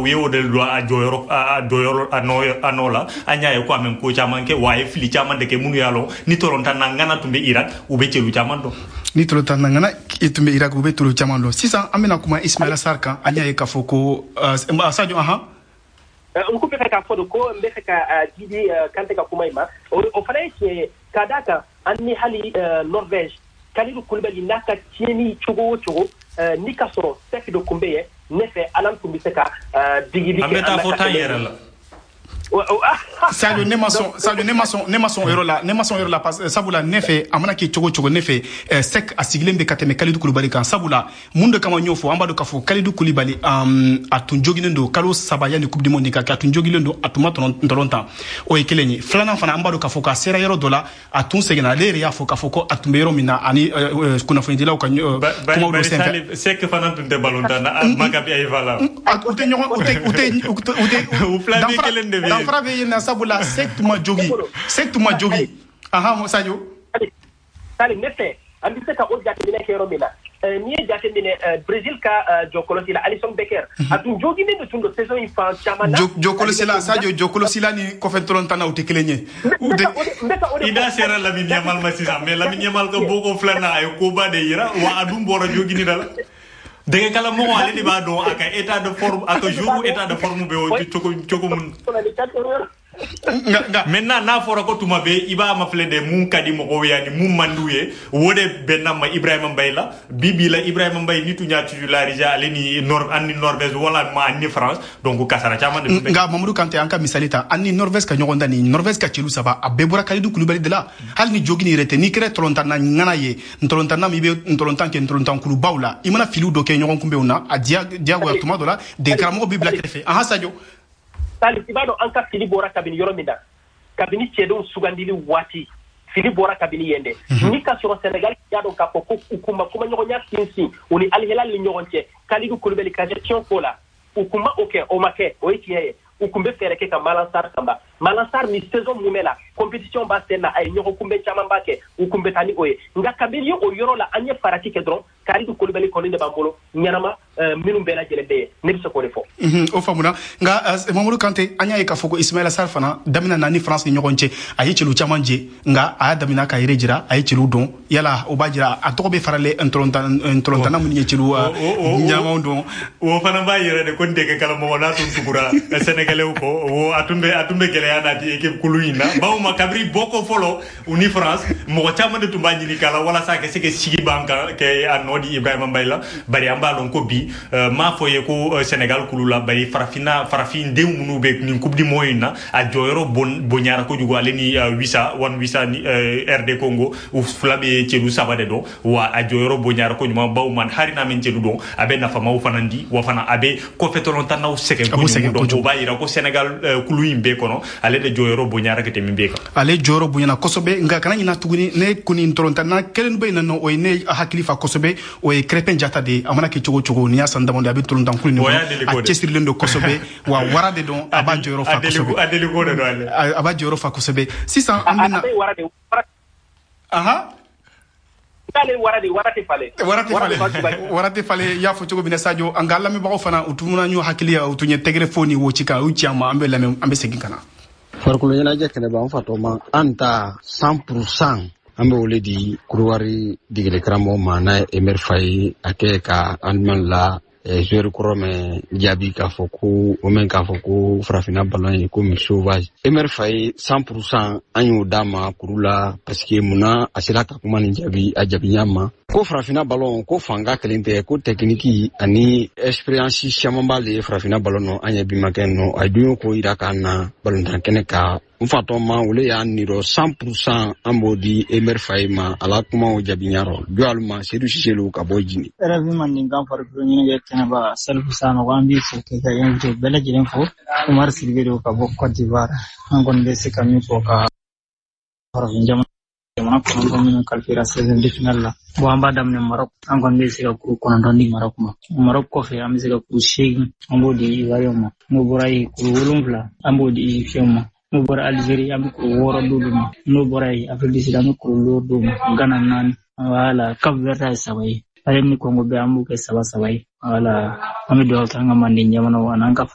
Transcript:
U ye o de don a jɔyɔrɔ, a jɔyɔrɔ, a nɔ la. An y'a ye ko a mɛ ko caman kɛ wa, a ye fili caman de kɛ. Minnu y'a lɔn ni tɔlɔntan na ŋana tun bɛ Irak, u bɛ celu caman dɔn. Ni tɔlɔntan na ŋana tun bɛ Irak, u bɛ tolo caman dɔn. Sisan an bɛna kuma Ismaila Sarr kan. An y'a ye k'a fɔ ko Sadio, ahan. N ko bɛ fɛ k'a fɔ de ko n bɛ fɛ ka Didi Kante ka kuma in ma, o fana ye tiɲɛ ye, ka d'a kan an ni hali Norvège, Kalidou Koulibaly n'a ka tiɲɛni cogo o cogo, ni ka sɔrɔ Seck de tun bɛ yen, ne fɛ Alan tun bɛ se ka digili kɛ. An bɛ taa fɔ 10 yɛrɛ la. Sadio, ne ma sɔn. Sadio, ne ma sɔn, ne ma sɔn yɔrɔ la, ne ma sɔn yɔrɔ la, parce sabula ne fɛ, a mana kɛ cogo o cogo, ne fɛ Seck a sigilen bɛ ka tɛmɛ Kalidou Koulibaly kan. Sabula mun de kama n y'o fɔ? An b'a dɔn k'a fɔ Kalidou Koulibaly, a tun joginnen don kalo 3 yanni Coupe du Monde ka kɛ. A tun jogilen don, a tun ma tɔlɔn tan. O ye kelen ye. Filanan fana, an b'a dɔn k'a fɔ k'a sera yɔrɔ dɔ la, a tun seginna. Ale yɛrɛ y'a fɔ k'a fɔ ko a tun bɛ yɔrɔ min na ani kunnafonidilaw ka kumaw dɔ senfɛ. Seck fana tun tɛ ballon tan na Maccabi Haifa la. U tɛ ɲɔgɔn, u tɛ, u tɛ, u tɛ. U fila bɛɛ kelen de bɛ yen. Danfara bɛ yen na, sabula Seck tun ma jogi, Seck tun ma jogi. Ahan, Sadio. Sali, ne fɛ an bɛ se ka o jateminɛ kɛ yɔrɔ min na, n'i ye jateminɛ Brésil ka jɔkɔlɔsi la, Alisson Becker, a tun joginen de tun don saison in fan caman na. Jɔkɔlɔsi la, Sadio, jɔkɔlɔsi la ni kɔfɛ tɔlɔntan na, u tɛ kelen ye. I da sera Lamine Yamal ma sisan, mais Lamine Yamal ka bɔko filanan, a ye koba de yira wa, a dun bɔra jogini da la. Dɛgɛkalamɔgɔ, ale de b'a dɔn a ka état de forme, a ka jour état de forme bɛ o cogo cogo mun. Maintenant, n'a fɔra ko tuma bɛɛ i b'a mafilɛ de, mun ka di mɔgɔw ye ani mun man d'u ye, o de bɛnna ma Ibrahima Mbaye la. Bi bi la, Ibrahima Mbaye ni tun y'a titularisé, ale ni Nord, an ni Norvège wala ma ani France, donc kasara caman de tun bɛ. Nka Mamadou Kante, an ka misali ta, an ni Norvège ka ɲɔgɔn dan ni Norvège ka celu saba, a bɛɛ bɔra Kalidou Koulibaly de la. Hali ni jogini yɛrɛ tɛ, n'i kɛra tɔlɔntanna ŋana ye, ntɔlɔntanna min i bɛ ntɔlɔntan kɛ ntɔlɔntan kulubaw la, i mana filiw dɔ kɛ ɲɔgɔn kunbɛnw na, a diyagoya tuma dɔ la dege karamɔgɔ b'i bila kɛrɛfɛ. Ahan, Sadio. Sali, i b'a dɔn an ka fili bɔra kabini yɔrɔ min na, kabini cɛdenw sugandili waati, fili bɔra kabini yen dɛ. Ni ka sɔrɔ Sénégal y'a dɔn k'a fɔ ko u kun ma kumaɲɔgɔnya sinsin u ni Al Hilal ni ɲɔgɔn cɛ Kalidou Koulibaly ka gestion ko la, u kun ma o kɛ, o ma kɛ, o ye tiɲɛ ye. U kun bɛ fɛɛrɛ kɛ ka Malang Sarr sanba. Malang Sarr ni saison mumɛ la, compétition b'a sen na, a ye ɲɔgɔn kunbɛn caman b'a kɛ, u kun bɛ taa ni o ye. Nka kabini o yɔrɔ la, an ye farati kɛ dɔrɔn, Kalidou Koulibaly kɔni de b'an bolo ɲɛnama minnu bɛɛ lajɛlen bɛ yen, ne bɛ se k'o de fɔ. O faamuna. Nka Mamadou Kante, an y'a ye k'a fɔ ko Ismaila Sarr fana daminɛ na ni France ni ɲɔgɔn cɛ, a ye celu caman je, nka a y'a daminɛ ka yɛrɛ jira, a ye celu dɔn. Yala o b'a jira a tɔgɔ bɛ faralen ntɔlɔntanna minnu ye celu ɲɛnamaw dɔn? O fana b'a yɛrɛ de ko n dege karamɔgɔ n'a tun tugura Sénégalais kɔ, o a tun bɛ gɛlɛya nati équipe kulu in na, bawo ma kabiri bɔko fɔlɔ u ni France, mɔgɔ caman de tun b'a ɲini k'a la walasa a ka se ka sigi ban kan kɛ a nɔ di Ibrahima Mbaye la. Bari an b'a dɔn ko bi m'a fɔ ye ko Sénégal kulu la, bari farafinna, farafindenw minnu bɛ nin Coupe du Monde in na, a jɔyɔrɔ bonyara kojugu. Ale ni Wissa, Wan Wissa ni RD Congo, u fila bɛ celu saba de dɔn wa, a jɔyɔrɔ bonyara koɲuman, bawo man hali n'a min celu dɔn, a bɛ nafamaw fana di wa, fana a bɛ kɔfɛ tɔlɔntannaw sɛgɛn kojugu. Donc o b'a yira ko Sénégal kulu in bɛɛ kɔnɔ, ale de jɔyɔrɔ bonyara ka tɛmɛ bɛɛ kan. Ale jɔyɔrɔ bonyana kosɛbɛ. Nka kana ɲina tuguni, ne kɔni tɔlɔntanna kelen bɛ yen nɔ, o ye ne hakili fa kosɛbɛ, o ye Crépin Diatta de ye. A mana kɛ cogo o cogo, n'i y'a san damadɔ, a bɛ tɔlɔntan kulu nin kɔnɔ, a cɛsirilen don kosɛbɛ wa, wara de don, a b'a jɔyɔrɔ fa kosɛbɛ. A deliko de don ale. A b'a jɔyɔrɔ fa kosɛbɛ. Sisan an bɛna, ahan. K'ale wara de, wara tɛ falen. Wara tɛ falen, wara tɛ falen. I y'a fɔ cogo min na, Sadio, an ka lamɛnbagaw fana, u tun y'u hakili, u tun ye tɛgɛrɛ fɔ ni wo ci kan, u ci an ma. An bɛ lamɛn, an bɛ segin ka na. Farikolo ɲɛnajɛ kɛnɛba, n fatɔma, an ta 100%, an bɛ wele di Kodiwari degeli karamɔgɔ ma, n'a ye Emery Faye, a kɛ ka Allemagne la joueur kɔrɔ mɛn jaabi k'a fɔ ko o mɛn k'a fɔ ko farafinna ballon ye komi sauvage. Emery Faye, 100%, an y'o d'a ma kuru la, parce que munna a sera ka kuma nin jaabi, a jaabi ɲa ma ko farafinna ballon ko fanga kelen tɛ, ko technique ani expérience caman b'ale ye farafinna ballon nɔ. An ye bimakɛ nɔ, a ye don ko yira k'an na ballontan kɛnɛ kan. N fatɔ ma, olu y'a nirɔ 100%, an b'o di Emery Faye ma, ala kumaw jaabi ɲarɔ jɔ alu ma. Sedu Siselu ka bɔ Jini. RFI Mandenkan farikolo ɲɛnajɛ kɛnɛba, Salifu Sanogo, an b'i fo k'i ka invité bɛɛ lajɛlen fo. Umar Sidibe don ka bɔ Côte d'Ivoire. An kɔni bɛ se ka min fɔ ka farafin jamana 9 minnu qualifiera 16e de finale la, bon, an b'a daminɛ Maroc. An kɔni bɛ se ka kuru 9 di Maroc ma. Maroc kɔfɛ, an bɛ se ka kuru 8, an b'o di Ivoirien ma. N'o bɔra yen, kuru 7, an b'o di Égyptien ma. N'o bɔra Algérie, an bɛ kuru 6 d'olu ma. N'o bɔra yen, Afrique du Sud, an bɛ kuru 5 d'u ma. Ghana 4, voilà. Cap Vert ye 3 ye. Ale ni Congo bɛɛ, an b'u kɛ saba saba ye. Voilà, an bɛ dugawu kɛ an ka manden jamanaw ani an ka